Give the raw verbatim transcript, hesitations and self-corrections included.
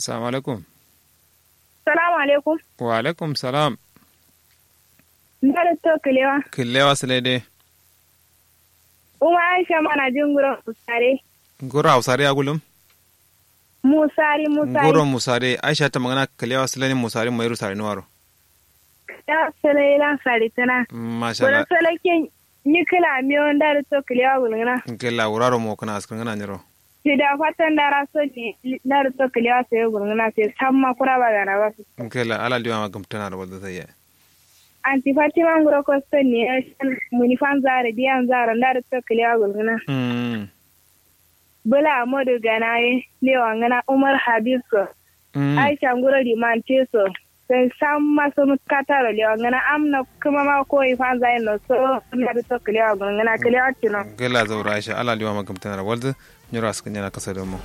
Salamu alaikum. Salamu alaikum. Wa alaikum salam. Ndari to kilewa. Kilewa silai dai. Uma aisha mana jin nguro musare. Nguro hausare ya gulum. Musari musari. Nguro musare aisha ta magana kilewa silai ni musari mai rusari nuwaro. Kilewa silai lan sari tana. Mashallah. Salakin. Ni kila miyo ndari to kilewa gulguna. Ngila wuraro mo kana askar ngana nyiro. Sida fatan dara so ne. Ndari to kilewa sai gulguna sai samma kura ba gana ba. Ngila ala liwa ma gumtana da wadda sai ya. Anti fatima nguro kosto ne. Muni fan zare diyan zaro ndari to kilewa gulguna. Mm. Bula modu gana ye lewa ngana umar habib so. Mm. Aisha nguro limante so. Sai samma sunu kataro lewa ngana amna kuma ma ko ifanza yin no so. Ndari to kilewa gulguna kilewa tino. Ngila zaura aisha ala liwa ma gumtana da wadda. Nyiro askar nyana kasa domo.